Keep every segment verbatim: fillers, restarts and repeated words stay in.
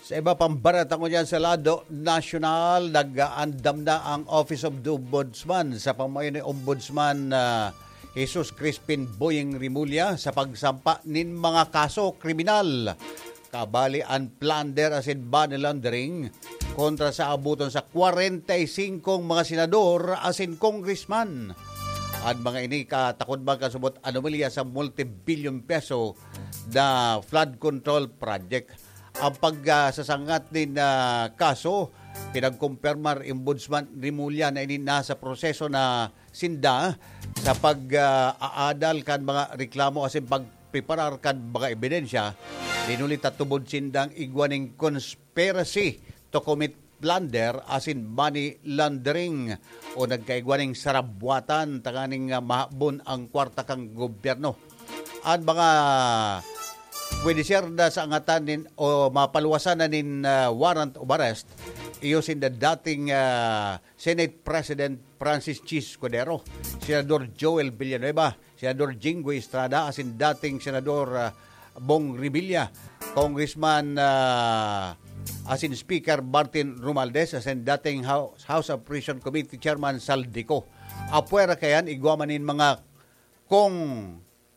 Sa iba pang bareta ngunyan sa lado nasyonal, nag-aandam na ang Office of the Ombudsman sa pamayo ni Ombudsman, ah, Jesus Crispin Boying Remulla sa pagsampa nin mga kaso kriminal, kabali an plunder asin money laundering kontra sa abuton sa kwarenta y singkong mga senador asin congressman. An mga ini katakod man kasubot anomalya sa multi-billion peso na flood control project. Ang pag, ah, sasangat nin, ah, kaso, pinagkumpirmar Ombudsman Remulla na ini nasa proseso na sinda sa pag, ah, aadal kan mga reklamo asin pagpreparar kan mga ebidensya. Dinuli ta tubod sindang igwa ning conspiracy to commit plunder asin money laundering o nagkaigwa ning sarabwatan tanganing, ah, mahabon ang kwarta kan gobyerno. An mga pwede siya na sa angatan nin, o mapaluwasan na nin, ah, warrant of arrest, iyo sinda dating, ah, Senate President Francis Chi Escudero, Senador Joel Villanueva, Senador Jinggoy Estrada, asin dating Senador, ah, Bong Revilla, Congressman, ah, asin Speaker Martin Romualdez, asin dating House, House Appropriation Committee Chairman Zaldy Co. Apwera kayan, igwa man nin mga kong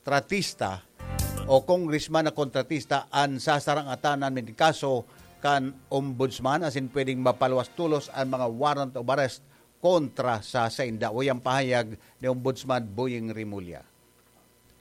tratista o congressman na kontratista an sasarangatanan nin kaso kan ombudsman asin pwedeng mapaluwas tolos an mga warrant of arrest kontra sa sainda. Uya ang pahayag ni Ombudsman Boying Remulla.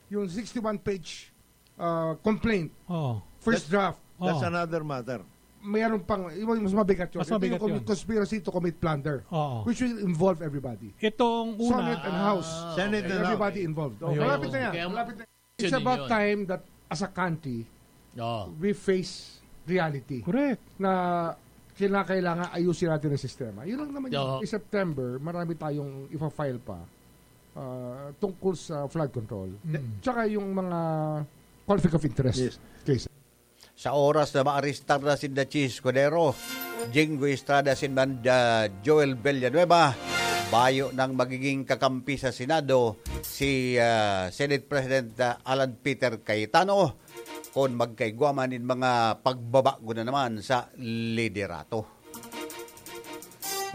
Yung sixty-one page uh, complaint, Oo. first draft, Oo. That's another matter. mayroon pang, yung mas mabigat yun. Mas Ito mabigat yung yun. Conspiracy to commit plunder, Oo. which will involve everybody. Itong una, Senate and House. Senate and Everybody House. Involved. Ayun. Malapit na yan. Kaya Malapit na. It's yun about yun. Time that as a country, Oh. we face reality Correct. Na kinakailangan ayusin natin ang sistema. Yun lang naman yun. Oo. In September, marami tayong ipa-file pa ah, tungkol sa flood control. Mm. Tsaka yung mga conflict of interest Yes. Case. Sa oras na maarestar na si Chi Escudero, Jinggoy Estrada asin man, ah, Joel Villanueva, bayo nang magiging kakampi sa Senado si, ah, Senate President, ah, Alan Peter Cayetano kon magkaigwa man nin mga pagbabago na naman sa liderato.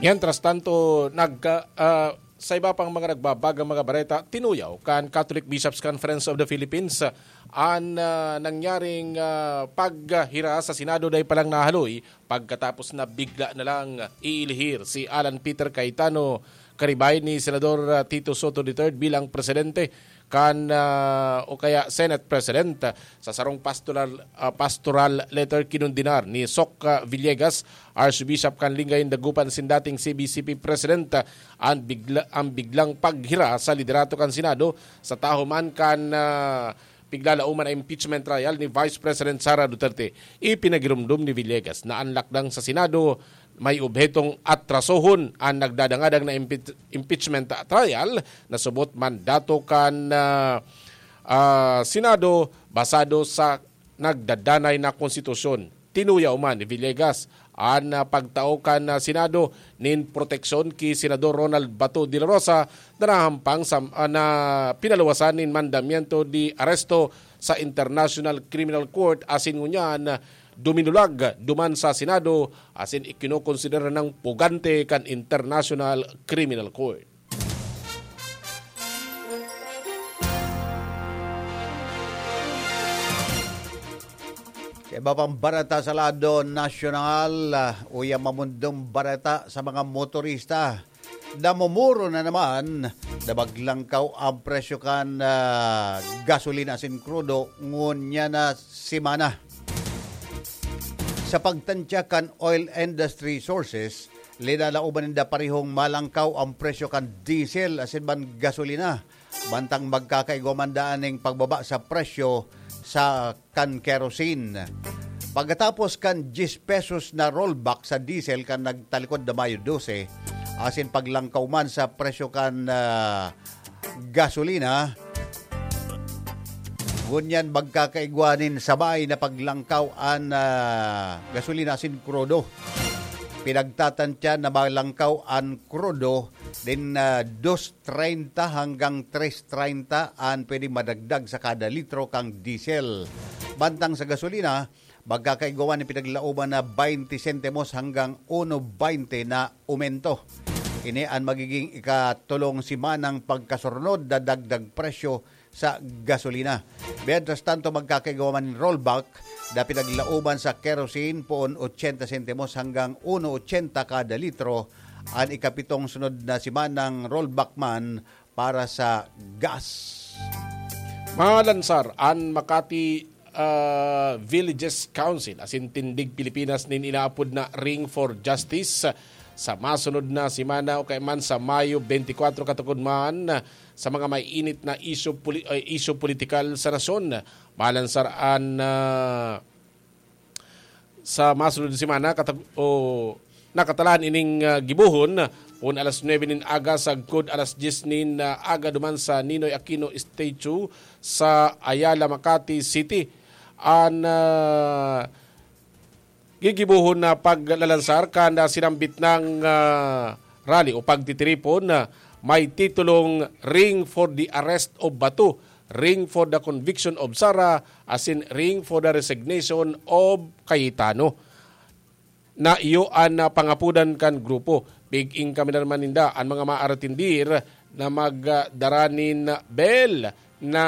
Mientras tanto, nagka, ah, sa iba pang mga nagbabagang mga bareta, tinuyaw kan Catholic Bishops' Conference of the Philippines an, ah, nangyaring, ah, paghira sa Senado dai pa lang nahaloy pagkatapos na bigla na lang iilihir si Alan Peter Cayetano karibay ni Senador, ah, Tito Sotto the third bilang presidente kan, ah, o kaya Senate President. Sa sarong pastoral, ah, pastoral letter, kinondenar ni Soc, ah, Villegas, Archbishop kan Lingayen, Dagupan, asin dating C B C P President, ah, an bigla, an biglang paghira sa liderato kan Senado sa taho man kan, ah, piglalauman na impeachment trial ni Vice President Sara Duterte. Ipinagiromdom ni Villegas na an lakdang sa Senado may obhetong atrasohon an nagdadangadang na impeach-, impeachment trial na subot mandato kan, ah, ah, Senado basado sa nagdadanay na konstitusyon. Tinuyaw man ni Villegas an, ah, pagtao kan, ah, Senado nin proteksyon ki Senador Ronald Bato de la Rosa na nahampang sa, ah, na pinaluwasan nin mandamiento de aresto sa International Criminal Court asin ngunyan duminulag duman sa Senado asin ikinokonsidera nang pugante kan International Criminal Court. Sa iba pang bareta sa lado nasyonal, ah, uya mamundong bareta sa mga motorista. Namumuro na naman na maglangkaw ang presyo kan, ah, gasolina asin krudo ngunyan na semana. Sa pagtantya kan oil industry sources, linalauban ninda parehong malangkaw ang presyo kan diesel asin man gasolina, mantang magkakaigwa man daan ning pagbaba sa presyo sa kan kerosene. Pagkatapos kan diyes pesos na rollback sa diesel kan nagtalikod na Mayo dose, asin paglangkaw man sa presyo kan, ah, gasolina, ngunyan magkakaigwa nin sabay na paglangkaw an, ah, gasolina asin krudo. Pinagtatantya na malangkaw an krudo din, ah, dos treinta hanggang tres treinta an pwedeng madagdag sa kada litro kan diesel. Mantang sa gasolina, Magkakaigwa man nin pinaglalaoban na baynte sentimos hanggang uno baynte na umento. Ini an magiging ikatolong simanang pagkasurnod na dagdag presyo sa gasolina. Mientras tanto, magkakaigwa man nin rollback na pinaglalaoban sa kerosene, poon ochenta sentimos hanggang uno ochenta kada litro an ikapitong sunod na simanang rollback man para sa gas. Malansar an Makati, ah, Villages Council asin Tindig Pilipinas nin inaapod na Ring for Justice sa masunod na semana o kaya man sa Mayo twenty-four, katukod man sa mga maiinit na isyu poli-, eh, isyu politikal sa nasyon. Malansar an, ah, sa masunod na semana, katag-, o, nakatalaan ining, ah, gibohon, poon alas nuebe nin aga sagkod alas dyes nin, ah, aga duman sa Ninoy Aquino Statue sa Ayala, Makati City. An, ah, gigibohon na paglalansar kan, ah, sinambit nang, ah, rally o pagtitiripon na may titulong Ring for the Arrest of Bato, Ring for the Conviction of Sara, asin Ring for the Resignation of Cayetano. Na iyo an, ah, pangapodan kan grupo. Pig-ingkaminan man ninda an mga maaretindir na magdara nin bel na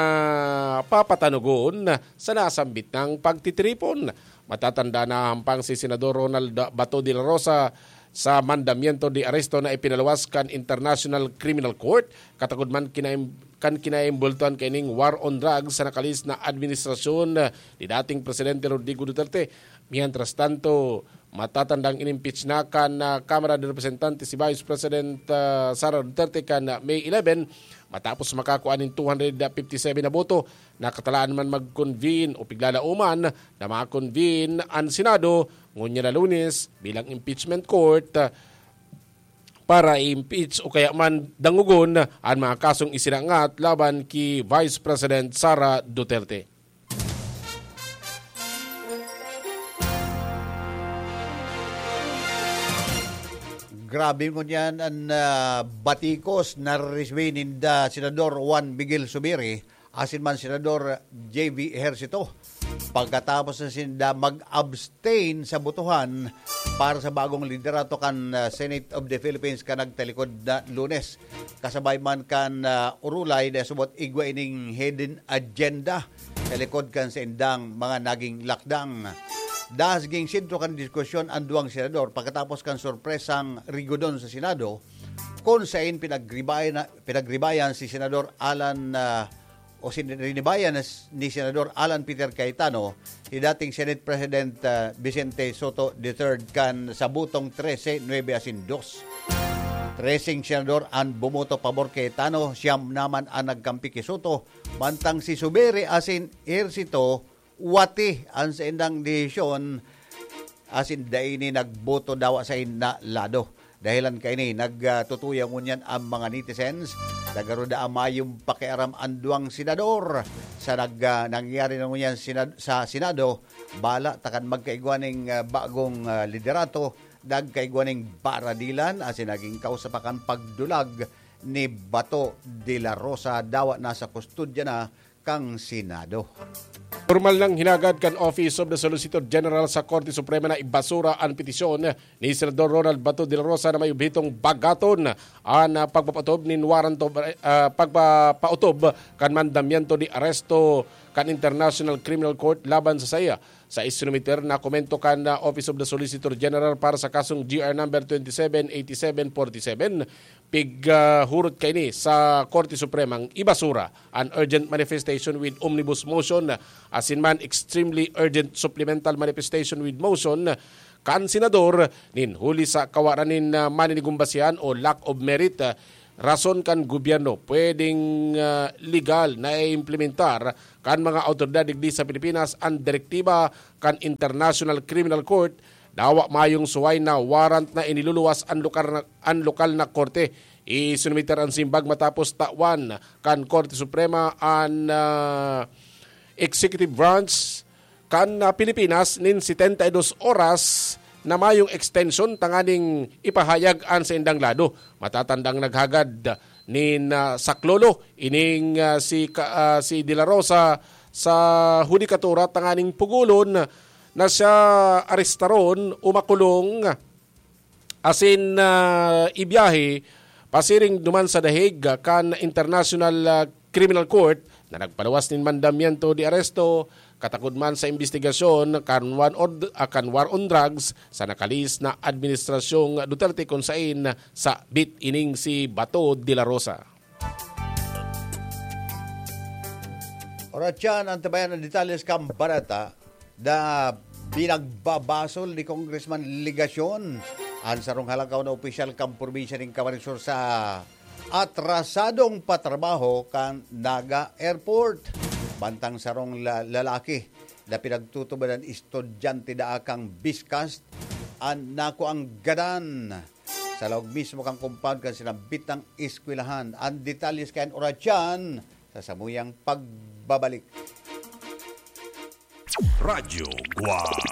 papatanogon sa nasambit nang pagtitiripon. Matatanda na hampang si Senador Ronald Bato de la Rosa sa mandamiento de aresto na ipinaluwas kan International Criminal Court, katukod man kinaim-, kan kinaimbultuhan kaining war on drugs sa nakalihis na administrasyon ni dating Presidente Rodrigo Duterte. Mientras tanto, matatandang inimpeach na kan, ah, Kamara de Representantes si Vice President, ah, Sara Duterte kan, ah, May eleven, matapos makakua nin two hundred fifty-seven na boto. Nakatalaan man mag-convene o piglalauman na ma-convene an Senado ngunyan na Lunes bilang impeachment court, ah, para i-impeach o kaya man dangogon an mga kasong isinangat laban ki Vice President Sara Duterte. Grabe ngunyan an, ah, batikos na resibi ninda Senador Juan Miguel Zubiri asin man Senador J V Ejercito pagkatapos na sinda mag-abstain sa botohan para sa bagong liderato kan, ah, Senate of the Philippines kan nagtalikod na Lunes. Kasabay man kan, ah, urulay na subot igwa ining hidden agenda sa likod kan saindang mga naging lakdang. Dahas ging sentro kan diskusyon an duwang senador pagkatapos kan sorpresang rigodon sa Senado, kun sain pinagribayan, pinagribayan si Senador Alan, ah, o sin-, rinibayan na s-, ni Senador Alan Peter Cayetano si dating Senate President, ah, Vicente Sotto the third kan sa botong trese nuebe asin dos. Treseng senador an bumoto pabor kay Cayetano, siyam naman an nagkampi ki Sotto, mantang si Zubiri asin Ejercito wati an saindang desisyon asin dai ini nagboto dawa sa ina lado. Dahelan kaini, nagtutuya ngunyan an mga netizens na garo daa mayong pakiaram an duwang senador sa nag-, ah, nangyari na ngunyan sinad-, sa Senado. Bala ta kan magkaigwa ning, ah, bagong, ah, liderato, nagkaigwa ning baradilan asin naging kausa pa kan pagdulag ni Bato de la Rosa, dawa nasa kustodya na kan Senado. Pormal nang hinagad kan Office of the Solicitor General sa Korte Suprema na ibasura an petisyon ni Senador Ronald Bato de la Rosa na may obhetong bagaton an, ah, pagpapaotob nin warrant of, ah, pagpapaotob kan mandamiento de aresto kan International Criminal Court laban sa saiya. Sa isinumiter na komento kan, ah, Office of the Solicitor General para sa kasong G R number twenty-seven eighty-seven forty-seven, pig, ah, hurot kaini sa Korte Supremang ibasura an urgent manifestation with omnibus motion, asin man extremely urgent supplemental manifestation with motion kan senador nin huli sa kawaran nin, ah, maninigong basehan o lack of merit, ah, rason kan gobyerno. Pwedeng, ah, legal na i-implementar kan mga awtoridad digdi sa Pilipinas an direktiba kan International Criminal Court. Dawa mayong suway na warrant na iniluluwas an lokal na, an lokal na korte. Isinumiter an simbag matapos tawan kan Korte Suprema an, ah, executive branch kan, ah, Pilipinas nin setenta y dos oras na mayong extension tanganing ipahayag an saindang lado. Matatandang naghagad nin, ah, saklolo ining, ah, si ka-, ah, si De La Rosa sa hudikatura tanganing pugulon na siya arestaron o makulong asin, ah, ibiyahe pasiring duman sa The Hague kan International, ah, Criminal Court na nagpaluwas nin mandamiento de arresto katakod man sa imbestigasyon kan war on, ah, kan war on drugs sa nakalihis na Administrasyong Duterte kun sain sabit ining si Bato de la Rosa. Oras yan, antabayan ang detalye sa kambarata na pinagbabasol ni Congressman Legacion an sarong halangkaw na opisyal kan probinsya nin Camarines Sur sa atrasadong patrabaho kan Naga Airport. Mantang sarong la-, lalaki na pinagtutubadan estudyante daa kan BISCAST an nakuang gadan. Sa laog mismo kan compound kan sinambitang eskwelahan. An detalye sa kayan oras dyan sa samuyang pagbabalik. Radyo Guwang.